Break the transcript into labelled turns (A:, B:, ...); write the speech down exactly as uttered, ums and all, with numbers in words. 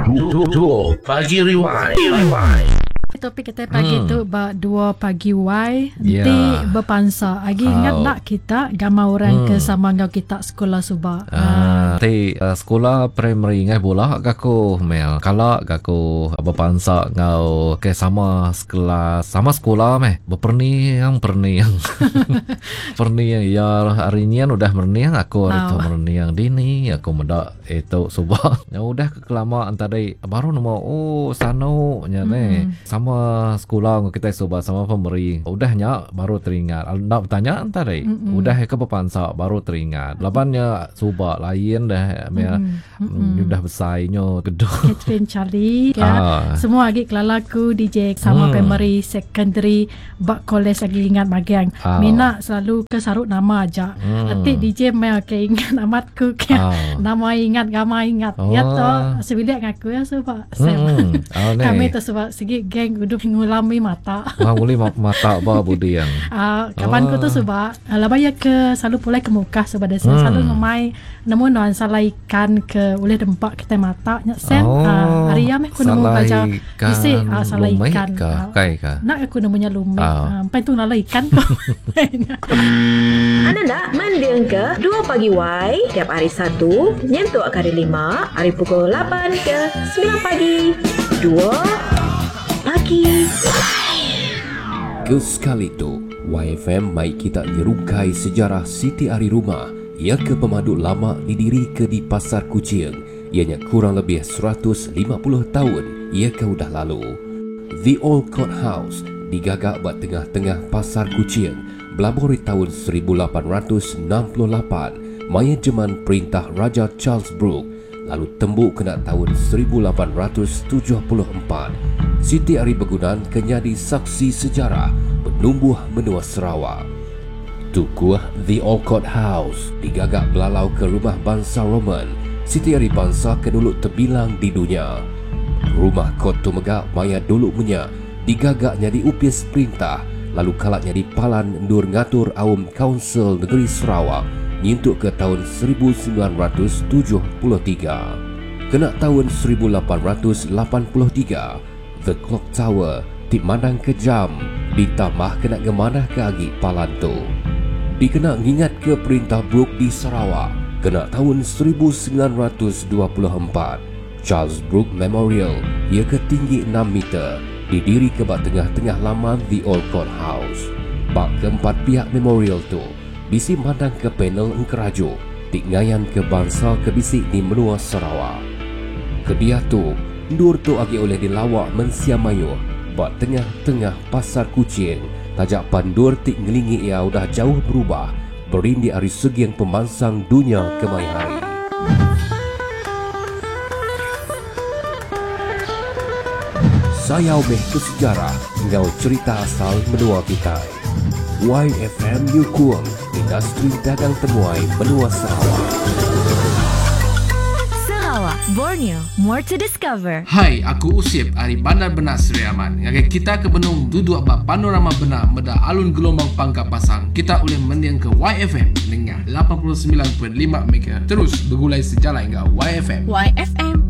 A: Dua Pagi Rewind. Rewind.
B: Topik kita pagi hmm. tu ba dua pagi Y yeah. Nanti berpansa lagi oh. Ingat nak kita gambar orang hmm. ke sama dengan kita sekolah subak.
C: Ah, ti uh, sekolah primary ngai bola aku mel. Kala aku berpansa ngau ke sama sekelas sama sekolah meh. Berperni yang perni yang. Perni yang ya hari ni udah merniang aku hari tu oh. merniang dini aku meda itu subak. Ya udah kelamaan tadi baru nemu oh sano nya ne. Hmm. Sama sekolah kita sobat sama pemberi. Udahnya baru teringat. Nak bertanya tadi. Mm-hmm. Udah ke berpansa baru teringat. Labannya subak lain dah mm-hmm. Mm, udah besarnya gedung.
B: Catherine Charlie ya. Ah. Semua lagi kelalaku D J sama mm. primary, secondary, bak college lagi ingat bagian. Ah. Mina selalu ke sarut nama aja. Mm. Nanti D J mel ke ingat amatku ke. Ah. Nama ingat, gambar ingat. Oh. Ya toh sebilik ngaku ya sebab mm.
C: Oh,
B: kami tu sebab segi geng udah ngulami mata.
C: Wah, nguli mata ba budi yang.
B: Ah, kawan ku tu sebab laba ya ke selalu pulai ke muka sebab dia hmm. selalu ngemai nemu nuan salah ikan ke boleh dempak kita mata nya sen.
C: Oh,
B: ah, hari ya meh aku nemu baca isi ah, salah ikan.
C: Ka, kai ka.
B: Nak aku nemunya lumik. Ah, empai tu nala ikan ko.
D: Anda nak mending ke dua pagi Y tiap hari Satu nyentuk hari lima hari pukul lapan ke sembilan pagi. Dua pagi.
E: Ke sekali tu, Y F M mai kita nyerungkai sejarah Siti Ari Rumah ia ke pemadu lama didiri ke di Pasar Kuching. Ianya kurang lebih seratus lima puluh tahun ia ke udah lalu. The Old Court House digagak buat tengah-tengah Pasar Kuching belabori tahun seribu lapan ratus enam puluh lapan maya jeman perintah Raja Charles Brooke lalu tembuk kena tahun seribu lapan ratus tujuh puluh empat. Siti Ari Begunan kenyadi saksi sejarah penumbuh menua Sarawak. Tukuh The Old Court House digagak belalau ke rumah bangsa Roman. Siti Ari bangsa ke dulu terbilang di dunia. Rumah kot tu megak maya dulu punya digagaknya di upis perintah lalu kalaknya di palan ndur ngatur awam Council Negeri Sarawak nyentuk ke tahun seribu sembilan ratus tujuh puluh tiga. Kena tahun seribu lapan ratus lapan puluh tiga, The Clock Tower ti mandang ke jam ditambah kena gemanah ke agi palan tu. Dikena ngingat ke perintah Brooke di Sarawak kena tahun seribu sembilan ratus dua puluh empat. Charles Brooke Memorial ia ke tinggi enam meter didiri ke bak tengah-tengah laman The Old Court House. Bak keempat pihak memorial tu bisi mandang ke panel engkerajo ti ngayan ke bangsa ke bisi di menua Sarawak. Kedia tu ndur tu agi oleh dilawak mensia mayu bak tengah-tengah Pasar Kuching tajak pandur ti ngelingi ia udah jauh berubah berindi ari segiang pemansang dunia kemai hari. Sayau meh ke sejarah ngau cerita asal menua kita. Y F M Nyukung Industri Dagang Temuai Menua Sarawak.
F: Sarawak, Borneo, more to discover.
G: Hai, aku Usip ari Bandar Benak Seri Aman. Ngagai kita ke Benung duduk ba panorama benak meda alun gelombang pangkat pasang. Kita boleh mending ke Y F M dengan lapan puluh sembilan perpuluhan lima MHz. Terus bergulai sejalan dengan Y F M.
F: Y F M,